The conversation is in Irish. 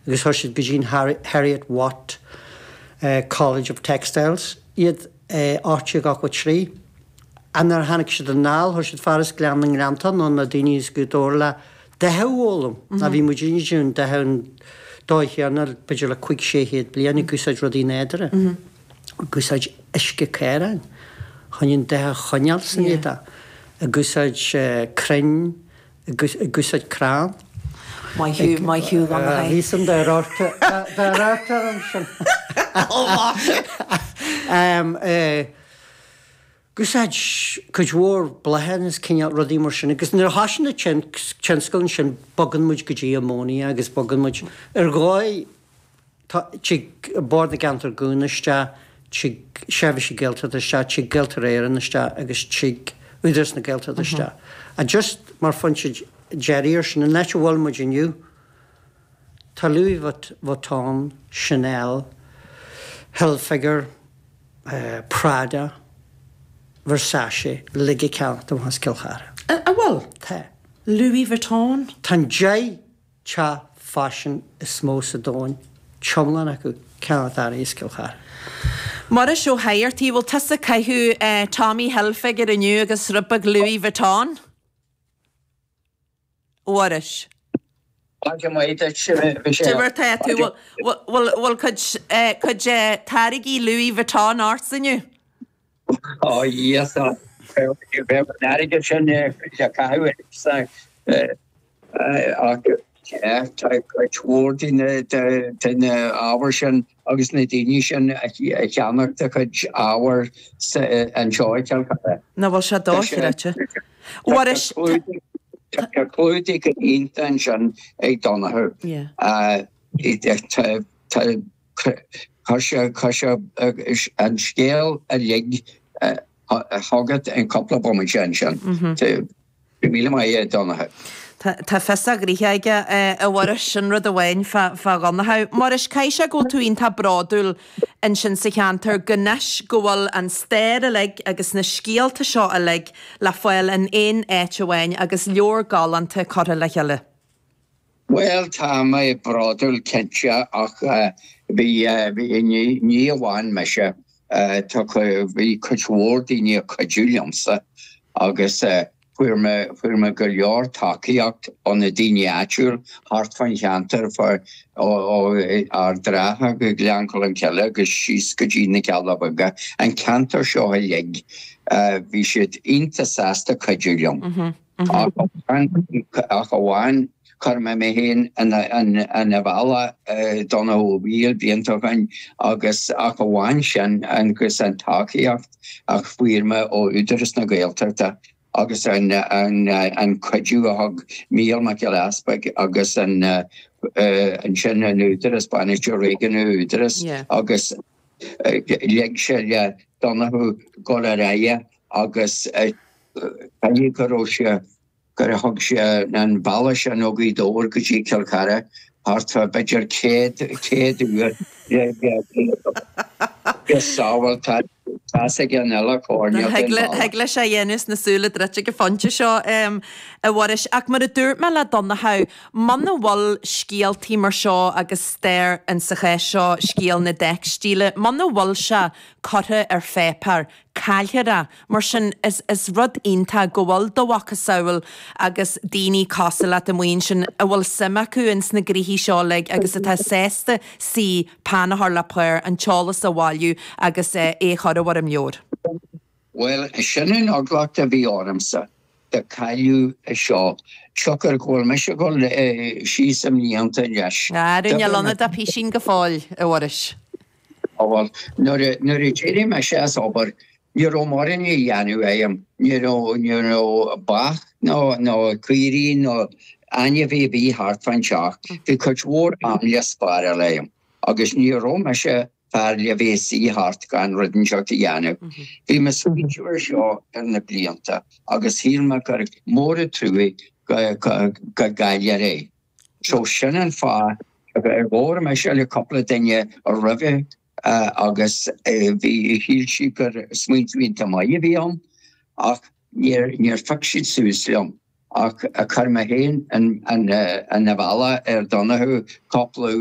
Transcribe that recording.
agus chuir siad go dtí an Heriot Watt College of Textiles iad i 1883. Ach nuair a tháinig siad anall, chuir siad fear as Gleann na nGleanntach, nó na daoine as Gaoth Dobhair le dath a fhoghlaim. Ná bhí muidinne ag déanamh dath an dóigh chéanna b'fhéidir le cuig 600 bliain ag úsáid rudaí nádúrtha, ag úsáid uisce caoráin chun an dath a choinneáil san éadach, ag úsáid crainn, ag úsáid crann. Maith thú, maith thú, a Dhonncha. Bhí san dá radharc orm sin. Ó mhaise! Ag úsáid cuid mhór bláthanna is cineál rudaí mar sin agus nuair a thosaigh na tionscail ansin bogann muid go dtí ammonia agus bogann muid ar dhóigh tá tig Bord na gCeantar Gúna isteach, tig Seirbhísí Gaeltachta isteach, tig Gaeltarra Éireann isteach agus tig Údarás na Gaeltachta isteach. Ach just mar phointe deiridh ar sin, an áit a bhfuil muid inniu, tá Louis Vuitton, Chanel, Hilfiger, Prada, Versace, uilig ag ceannacht amach as Cill Chartha. An bhfuil? Tá. Louis Vuitton? Tá an 10 teach faisin is mó sa domhan, t-iomlán acu, ag ceannacht earraí as Cill Chartha. Muiris Ó hEidheartaigh, bhfuil tusa ag caitheamh Tommy Hilfiger inniu agus rud beag Louis Vuitton? A Mhuiris. Maidin mhaith duit, Michelle. Cad é mar tá tú? Bhfuil cuid táirgí Louis Vuitton ortsa inniu? Ó yes, bheadh an airgead sin le caitheamh ach tá cuid mhór de na ábhair sin agus na daoine sin a cheannacht a chuid ábhair anseo i gCill Chartha. Nach bhfuil sé dochreidte? Mhuiris, Tá clúdaigh go hiontach ansin ag Donnchadh. Chuir sé an scéal uilig chugat in cúpla bomaite ansin. Go raibh míle maith agat, a Dhonncha. Tá fios a ghnoithe aige, a Mhuiris, sin rud amháin fá Dhonncha. Muiris, caithfidh sé go bhfuil tú iontach bródúil ansin sa cheantar go anois go bhfuil an stair uilig agus na scéalta seo uilig le fáil in aon áit amháin agus leabhar galánta curtha le chéile. Bhuel, tá mé bródúil cinnte ach bhí, ní amháin mise, tá, bhí cuid mhór daoine ag cuidiú liomsa agus fuair mé, fuair mé go leor tacaíocht ó na daoine áitiúil thart fán cheantar, ó Ard an Rátha go Gleann Cholm Cille agus síos go dtí na Cealla Beaga, an ceantar seo uilig, bhí siad iontach sásta cuidiú liom. Ach amháin, chuir mé mé féin ina bhealach Donnchadh Ó Baoill blianta ó shin agus ach amháin sin agus an tacaíocht a fuair mé ó Údarás na Gaeltachta agus an cuidiú a thug Mícheál Mac Giolla Easpaig agus ansin an Údarás, Bainisteoir Réigiúnach Údarás agus lig sé le Donnchadh dul ar aghaidh agus Caithfidh go raibh sé, gur thug sé an bealach sin ó Ghaoth Dobhair go dtí Cill Chartha thart fá b'fhéidir 100, 100 uair le sábháil, tá's ag an uile choirnéal den bhealach. Thig leis é a dhéanamh is na súile druidte ag an phointe seo, a Mhuiris. Ach mar a dúirt mé le Donnchadh, muna bhfuil scéaltaí mar seo agus stair, in sa chás seo scéal na dteicstíle, muna bhfuil sé curtha ar pháipéar, caillfear é. Mar sin, is is rud iontach go bhfuil do mhacasamhail agus daoine cosúil leat amuigh ansin a bhfuil suim acu ins na gnoithí seo uilig agus atá sásta suí, peann a chur le pár, an t-eolas a bhailiú agus é a chur i bhfoirm leabhair. Bhuel, sin an eagla a bhí ormsa, go gcaillfí é seo, siocair go bhfuil mise ag dul síos i mblianta anois. Ara, níl ionat ach písín go fóill, a Mhuiris. Bhuel, nuair a, nuair a d'éirigh mise as obair, ní raibh mórán a dhéanamh agam, ní raibh, ní raibh beach nó, nó caoirigh nó ainmhí ar bith thart fán teach. Bhí cuid mhór am le spáráil agam agus ní raibh mise fear le bheith ag suí thart gan rud inteacht a dhéanamh. Bhí mé ag smaointiú ar seo ar na blianta agus shíl mé gur mór an truaigh go, go, go gcaillfear é. So sin an fáth ar labhair mise le cúpla duine roimhe agus bhí, shíl siad gur smaointiú iontach maith a bhí ann ach níor, níor phioc siad suas liom ach chuir mé féin ina bhealach ar Donnchadh cúpla.